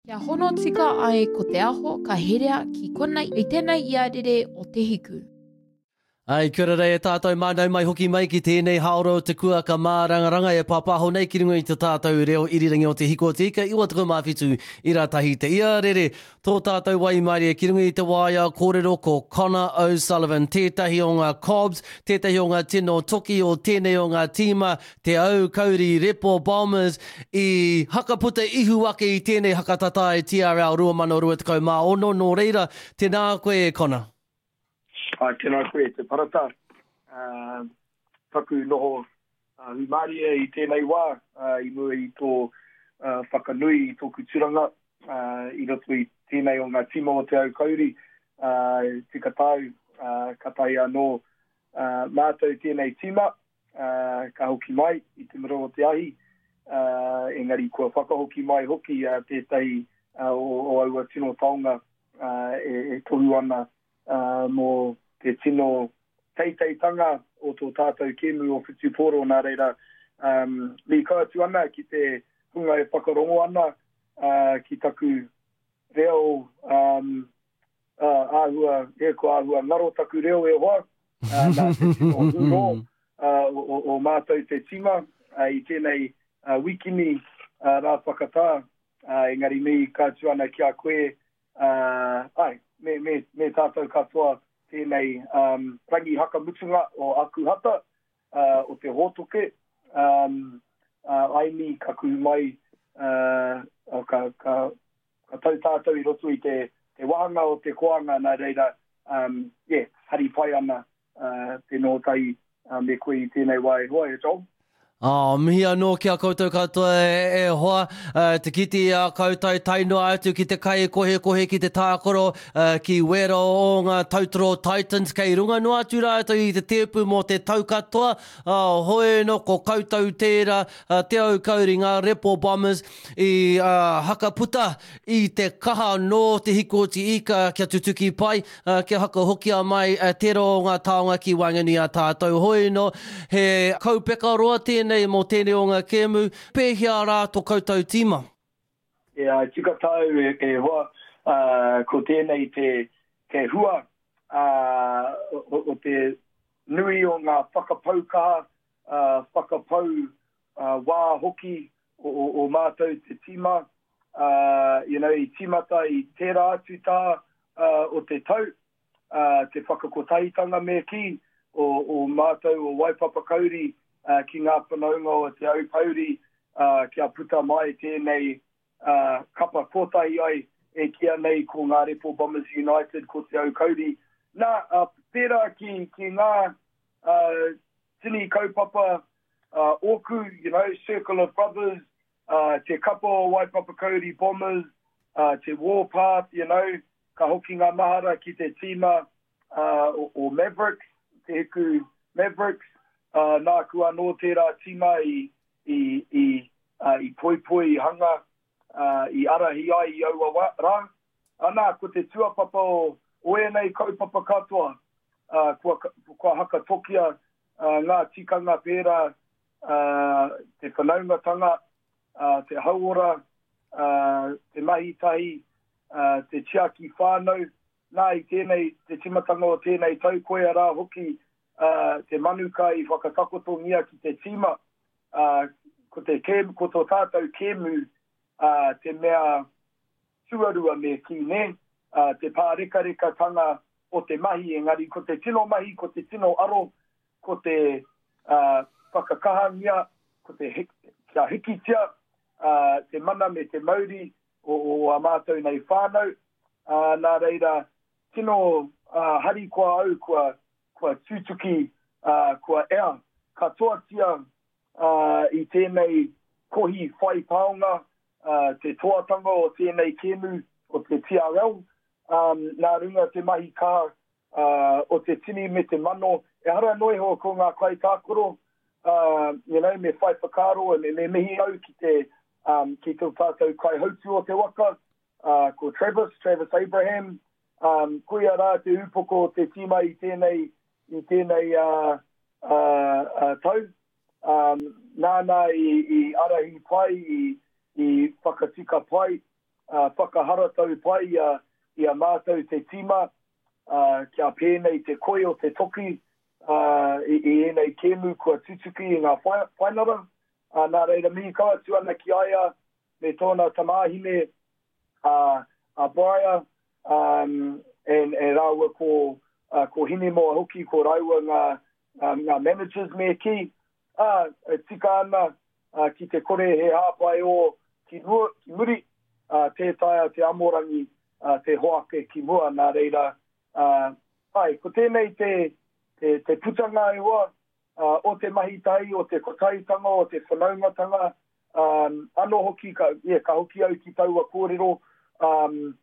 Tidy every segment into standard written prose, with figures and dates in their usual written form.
Kia hono tika ai ko te aho ka herea ki konei i tenei iarere o Te Hiku. Ai, kia ora rei e tātou mā, nau mai hoki mai ki tēnei hāora o te kuaka mārangaranga e pāpāho nei ki runga i te tātou reo irirangi o Te Hiku o Te Ika 97 i rā tahi te iarere. Tō tātou waimarie ki runga i te waea kōrero ko Connor O'Sullivan, tētahi o ngā Cobs, tētahi o ngā tino toki o tēnei o ngā tīma, Te Aukauri Repo Bombers i hakaputa ihu ake i tēnei hakatatae TRL 2026, nō reira, tēnā koe e Connor. Āe, tēnā koe e Te Parata. Taku noho hūmārie i tēnei wā, i mua i tō whakanui i tōku tūranga i roto i tēnei o ngā tīma o Te Aukauri, tika tāu, kātahi anō mātou tēnei tīma, ka hoki mai i te mura o te ahi, engari kua whakahoki mai hoki tētahi o aua tino taonga e tohu ana mō te tino teiteitanga o tō tātou kēmu o whutupōro. Nā reira, mīkau atu ana ki te hunga e whakarongo ana ki taku reo āhua, e, kua āhua ngaro taku reo e hoa, nā te tino hūrō o mātou te tīma i tēnei wikini rā whakatā, engari mihi ka atu ana ki a koe, āe, me, me, me tātou katoa tēnei rangi hakamutunga o Akuhata, o te hōtoke, aini ka kuhu mai, ka, ka, Ka tau tātou i roto i te te wāhanga o te koanga nā reira um yeah hari pai ana uh te noho tahi me koe i tēnei wā e hoa e Joel. Oh, mihi anō ki a koutou katoa e, e hoa, uh, te kite i a koutou tae noa atu ki te kai kohekohe ki te tākaro uh, ki wera o ngā Tautoro Titans kei runga noa atu rātou i te tēpu mō te tau katoa, oh, hoi no ko koutou tērā, uh, Te Aukauri, ngā Repo Bombers, I hakaputa i te kaha nō Te Hikoti Ika kia tutuki pai, kia hakahokia mai tērā o ngā taonga ki waenganui a tātou. Hoi anō, he kaupeka roa tēnei mō tēnei o ngā kēmu, pēhea rā to koutou tīma? E ai tika tāu e hoa, ko tēnei te hua o te nui o ngā whakapau kaha, whakapau wā hoki o mātou te tīma, you know, i tīmata i tērā atu tā o te tau, te whakakotahitanga me kī, o mātou o Waipapakauri ki ngā whanaunga o Te Aupōuri kia puta mai tēnei kapa kotahi ai e kīa nei ko Ngā Repo Bombers United ko Te Aukauri. Nā, pērā ki ngā tini kaupapa ōku, you know, Circle of Brothers, te kapa o Waipapakauri Bombers, te Warpath, you know, ka hoki ngā mahara ki te tīma o Mavericks, Te Hiku Mavericks, nāku anō tērā tīma i, i, i, i poipoi, i hanga, i arahi ai i aua wā, rā. Anā, ko te tuapapa o, o ēnei kaupapa katoa, kua, kua hakatokia ngā tikanga pērā te whanaungatanga, te hauora, te mahi tahi, te tiaki whānau. Nā, i tēnei, te tīmatanga o tēnei tau, koia rā hoki te manuka i whakatakotongia ki te tīma, ko te kēmu, ko tō tātou kēmu te mea tuarua me kī, nē, te pārekarekatanga o te mahi, engari ko te tino mahi, ko te tino aro, ko te whakakahangia, ko te kia hikitia te mana me te mauri o ā mātou nei whānau, nā reira, tino harikoa au kua, kua tutuki, kua ea katoatia i tēnei kohi whai taonga, te toatanga o tēnei kēmu o te TRL, nā runga te mahi kaha o te tini me te mano, ehara noa iho ko ngā kaitākaro, you know, me whai whakaaro, me, me mihi au ki te, um, ki tō tātou kaihautū o te waka, uh, ko Travis, Travis Abraham, um, koia rā te ūpoko o te tīma i tēnei, i tēnei uh, uh, uh, tau. Um, nāna i, i arahi pai, i, i whakatika pai. whakaharatau pai i a, i a mātou te tīma, kia pēnei te koi o te toki i, i ēnei kēmu kua tutuki i ngā whainara. Nā reira mihi kau atu ana ki a ia me tōna tamāhine a, a Briar, um, and, and rāua ko, uh, ko Hinemoa hoki, ko rāua ngā, um, ngā managers me kī, ā, e tika ana uh, ki te kore he hāpai ō ki, mua, ki muri, uh, tē taea te amorangi uh, te hoake ki mua, nā reira, uh, ai, ko tēnei te, te, te putanga e hoa, uh, o te mahi tahi, o te kotahitanga, o te whanaungatanga, um, anō hoki, ka, yeah, ka hoki au ki taua kōrero, um,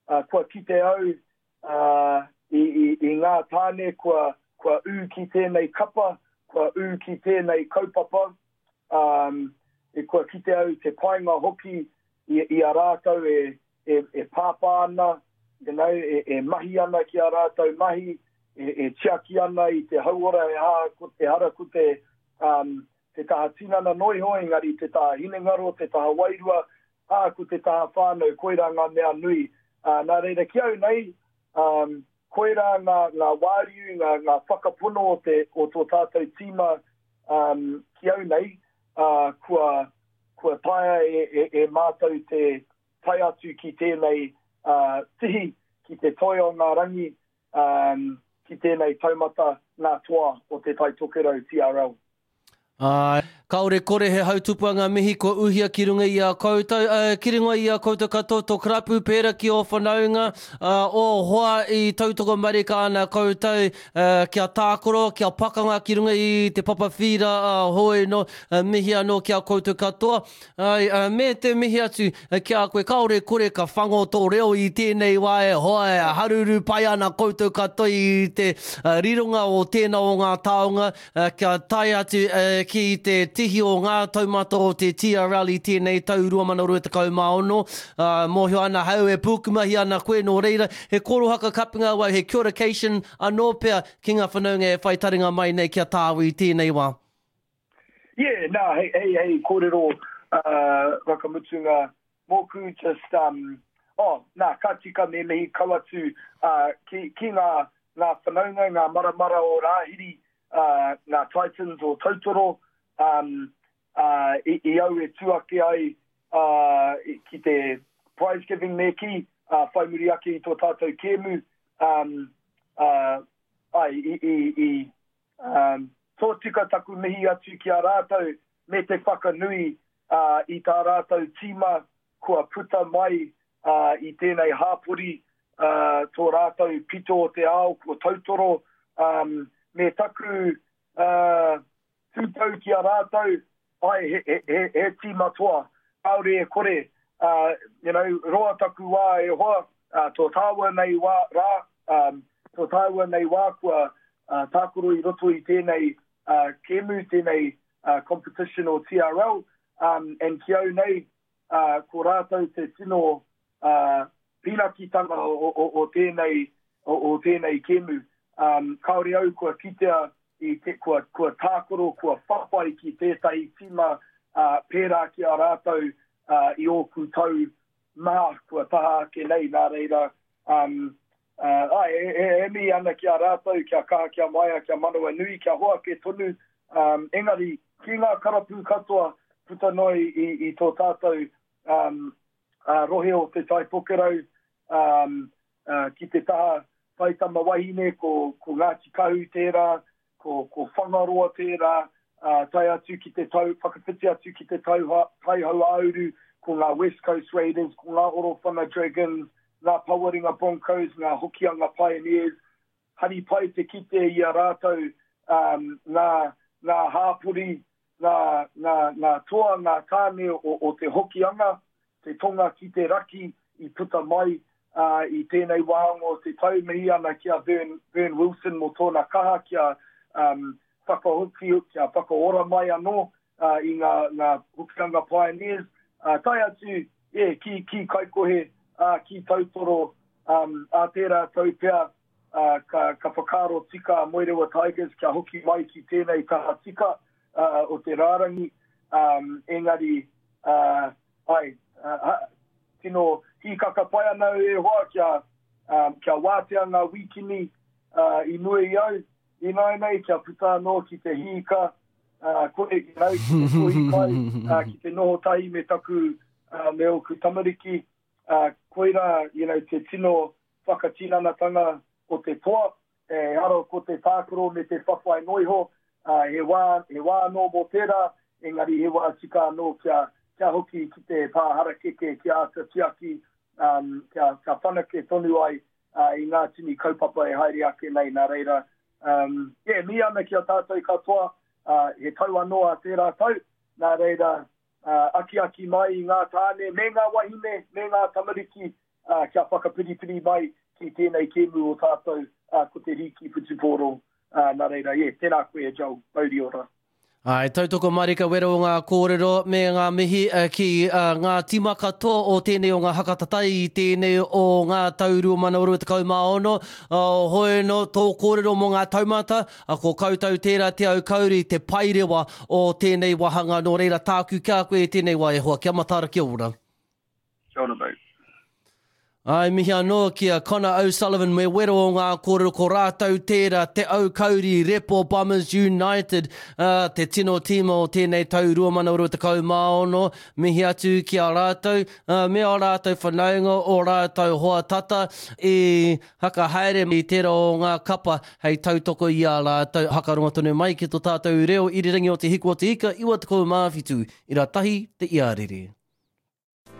uh, kua kite au uh, i, i, i ngā tāne kua, kua ū ki tēnei kapa, kua ū ki tēnei kaupapa, um, e kua kite au te painga hoki i, i a rātou e, e, e pāpā ana, you know, e, e mahi ana ki a rātou mahi, e, e tiaki ana i te hauora e ha, ko, ehara ko te, um, te taha tinana noa iho, engari te taha hinengaro, te taha wairua, ā, ko te taha whānau, koirā ngā mea nui. Ā, nā reira, ki au nei, um, koirā ngā, ngā wāriu, ngā, ngā whakapono o, te, o tō tātou tīma um, ki au nei, ā, kua, kua taea e, e, e mātou te tae atu ki tēnei uh, tihi, ki te toi o ngā rangi, um, ki tēnei taumata ngā toa o Te Tai Tokerau TRL. Āe, kāore kore he hautupua ngā mihi kua uhia ki runga i a koutou, ā, ki runga i a koutou katoa tō karapu pērā ki ō whanaunga, ā, ō hoa i tautoko marika ana koutou, ā, kia tākaro, kia pakanga ki runga i te papa whīra, ā, hoi nō, ā, mihi anō ki a koutou katoa. Āe, ā, me te mihi atu ki a koe, kāore kore ka whango tō reo i tēnei wā e hoa e haruru pai ana koutou katoa i te rironga o tēnā o ngā taonga kia tae atu ki te tihi o ngā taumata o te TRL i tēnei tau 2026. Ā, mōhio ana ahau e pūkumahi ana koe nō reira, he korohaka kapinga au, he kia ora-cation anō pea ki ngā whanaunga e whai taringa mai nei ki a tāu i tēnei wā. Yeah, nā, hei, hei, hei kōrero uh, whakamutunga mōku, just, um, oh, nā, ka tika me mihi kau atu uh, ki, ki ngā, ngā whanaunga, ngā maramara o Rāhiri, uh, ngā Titans o Tautoro, um, uh, i, i au e tū ake ai uh, ki te prize giving me kī, uh, whai muri ake i tō tātou kēmu, um, uh, ai, i, i, i, Um, tōtika taku mihi atu ki a rātou me te whakanui uh, i tā rātou tīma kua puta mai uh, i tēnei hāpori uh, tō rātou pito o te ao ko Tautoro um, me taku uh, tūtau ki a rātou Ai, he, he, he, he tīma toa, kāore e kore, uh, you know, roa taku wā e hoa, uh, tō tāua nei wā, rā, um, tō tāua nei wā kua uh, tākaro i roto i tēnei uh, kēmu, tēnei uh, competition o TRL, um, and ki au nei, uh, ko rātou te tino uh, pīnakitanga o, o, o, tēnei, o, o tēnei kēmu. Um, kāore au kua kitea i te, kua, kua tākaro, kua whawhai ki tētahi tīma uh, pērā ki a rātou uh, i ōku tau maha kua taha ake nei, nā reira, um, uh, ai, e, e, e mihi ana ki a rātou, kia kaha, kia maia, kia manawa nui, kia hoake tonu, um, engari, ki ngā karapū katoa puta noa i, i, i tō tātou um, uh, rohe o Te Tai Tokerau, um, uh, ki te taha taitama wahine, ko, ko Ngāti Kahu tērā, ko, ko Whangaroa tērā, uh, tae atu ki te tau, whakawhiti atu ki te tau, Taihauāuru, ko ngā West Coast Raiders, ko ngā Orowhana Dragons, ngā Pawaringa Broncos, ngā Hokianga Pioneers, hari pai te kite i a rātou um, ngā, ngā hāpori, ngā, ngā, ngā toa, ngā tāne o, o te Hokianga, te tonga ki te raki i puta mai uh, i tēnei wāhanga o te tau. Mihi ana ki a Vern, Vern Wilson mō tōna kaha kia um, whakahoki, kia whakaora mai anō uh, i ngā, ngā Hokianga Pioneers. Uh, tae atu, yeah, ki, ki Kaikohe, uh, ki Tautoro, um, ā tērā tau pea, uh, ka, ka whakaaro tika a Moerewa Tigers kia hoki mai ki tēnei taha tika uh, o te rārangi, um, engari, uh, ai, uh, tino hīkaka pai ana au e hoa kia, um, kia wātea ngā wīkini uh, i mua i au, ināianei kia puta anō ki te hīka, uh, kore ki au ki te kohi kai, uh, ki te noho tahi me taku, uh, me ōku tamariki, uh, koirā, you know, te tino whakatinanatanga o te toa, Ehara ko te tākaro me te whawhai noa iho, ā, he wā, he wā anō mō tērā, engari he wā tika anō kia, kia hoki ki te pā harakeke, kia āta tiaki, ā, kia, kia whanake tonu ai, ā, i ngā tini kaupapa e haere ake nei. Nā reira, ā, yeah, mihi ana ki a tātou katoa, ā, he tau anō a tērā tau, nā reira, ā, akiaki mai i ngā tāne me ngā wahine me ngā tamariki, ā, kia whakapiripiri mai ki tēnei kēmu o tātou, ā, ko te Rīki Whutupōro. Ā, nā reira, yeah, tēnā koe e Joel, mauri ora. Āe, tautoko marika wero o ngā kōrero me ngā mihi ki ngā tīma katoa o tēnei o ngā haka tatai i tēnei o ngā tau 2026. Hoi anō tō kōrero mō ngā taumata, ko koutou tērā te aukauri, te paerewa o tēnei wāhanga, nō reira tāku ki a koe i tēnei wā e hoa, kia mataara, kia ora. Kia ora mate. Āe, mihi anō ki a Conor O'Sullivan me wero o ngā kōrero ko rātou tērā, Te Aukauri Repo Bombers United, ā, te tino tīma o tēnei tau 2026. Mihi atu ki a rātou, ā, me ō rātou whanaunga, ō rātou hoa tata i haka haere i tērā o ngā kapa hei tautoko i a rātou. Hakarongo tonu mai ki tō tātou reo irirangi o Te Hiku o Te Ika 97 ira tahi te iarere.